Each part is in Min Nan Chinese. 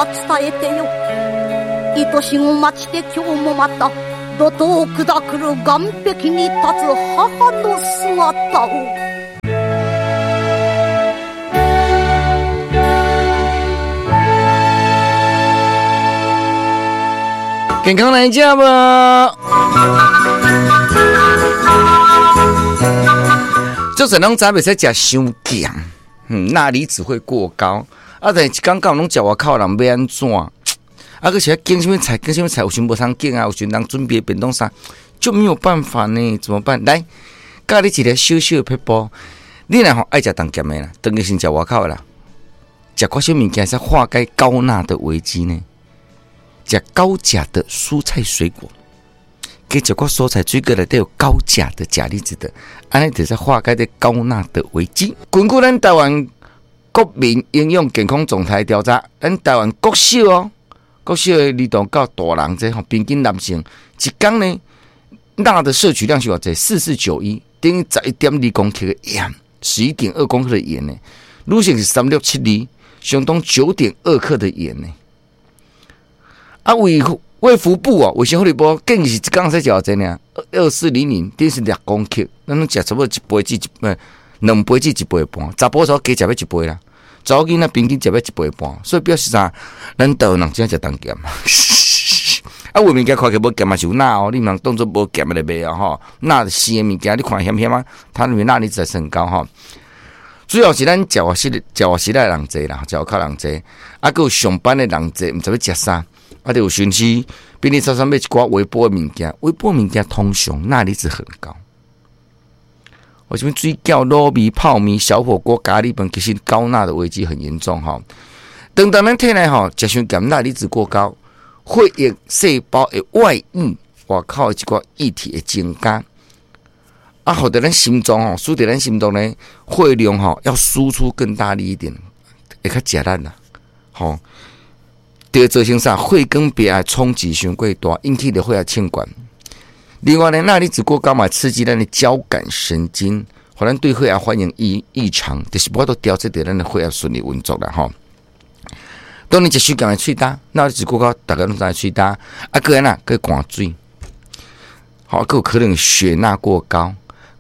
伝えてよ。愛しご待ちて今日もまた怒涛下くる岸壁に立つ母の姿を。健康來食無？做啥攏知袂使食傷鹹，鈉離子會過高。啊，但是一工到晚攏食外口人欲按怎？啊，閣是愛揀啥物菜，揀啥物菜，有時無通揀啊，有時人準備便當啥，就沒有辦法呢？怎麼辦？來，教你一个小小的撇步。你若吼愛食重鹹的啦，當然先食外口的啦，食寡啥物件會使化解高鈉的危機呢？食高鉀的蔬菜水果，加食寡蔬菜水果內底有高鉀的鉀離子的，按呢就會使化解這高鈉的危機。根據咱台灣國民營養健康狀態調查，咱台灣國小哦，國小的兒童到大人這吼，平均男性一工呢，鈉的攝取量是偌濟？4491，等於11.2公克的鹽，11.2公克的鹽呢。女性是3672，相當9.2克的鹽呢。啊，衛福部哦，衛生福利部建議是一工使食偌濟呢？2400，等於是6公克。咱攏食差不多一杯至一，兩杯至一杯半。查埔查某加食欲一杯啦，查某囡仔平均食欲一杯半。所以表示啥？咱台灣人真食重鹹。啊，有物件看起來無鹹嘛是有鈉哦，你毋通當做無鹹的來賣哦吼。鈉生的物件，你看鹹鹹啊，它裡面鈉離子還是很高吼。主要是咱食外食，食外食的人濟啦，食外口人濟，啊，閣有上班的人濟，毋知欲食啥。啊，就有時時便利超商買一寡微波的物件，微波物件通常鈉離子很高。為什麼水餃、滷味、泡麵、小火鍋、咖喱飯，其實高鈉的危機很嚴重吼。當當咱體內吼食傷鹹，鈉離子過高，血液細胞的外溢，外口的一寡液體會增加。啊，予著咱心臟吼，使得咱心臟呢血量吼要輸出更大力一點，會較食力啦，吼。就會造成啥？血管壁的衝擊傷過大，引起著血壓升懸。另外呢，鈉離子過高嘛，刺激咱的交感神經，予咱對血壓反應異常，就是無法度調節著咱的血壓順利運作啦吼。當你食傷鹹的喙焦，鈉離子過高，逐家攏知喙焦，啊，閣按怎？閣寒水，吼，閣有可能血鈉過高，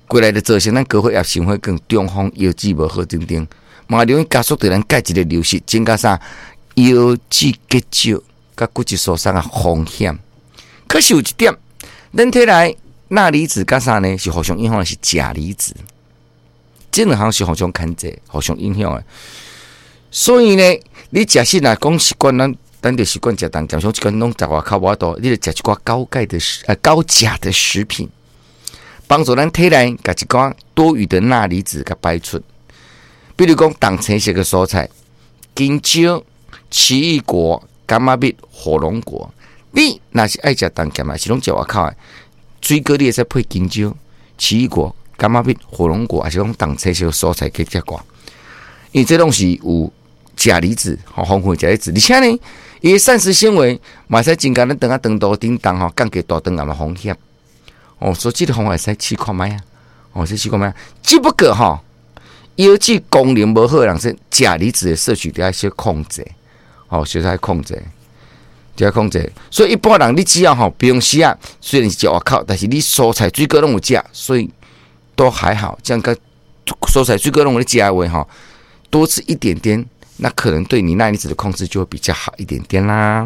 過來就造成咱高血壓、心血管、中風、腰子無好等等，嘛容易加速著咱鈣質的流失，增加啥？腰子結石、佮骨質疏鬆的風險。可是有一點，咱體內鈉離子佮啥呢？是互相影響的是鉀離子，這兩項是互相牽制、互相影響的。所以呢，你食食若講習慣，咱就習慣食重鹹，像這款攏食外口無法度，你就食一寡高鈣的食，高鉀的食品，幫助咱體內共一寡多餘的鈉離子共排出。比如講，重青色的蔬菜，香蕉、奇異果、柑仔蜜、火龍果。你若是愛食重鹹，還是攏食外口的水果，你會使配香蕉、奇異果、柑仔蜜、火龍果，還是講重青色蔬菜去食寡。因為這攏是有鉀離子，吼，豐富的鉀離子，而且呢，伊的膳食纖維嘛會使增加咱腸仔腸道頂動吼，降低大腸癌的風險。哦，所以這個方法會使試看覓啊，哦，試看覓啊。只不過吼，腰子功能無好的人，說鉀離子的攝取得愛小控制，哦，小愛控制，得愛控制。所以一般人你只要吼，平時啊，雖然是食外口，但是你蔬菜水果攏有食，所以都還好。這樣個蔬菜水果攏有咧食的話吼，多吃一點點，那可能對你鈉離子的控制就會比較好一點點啦。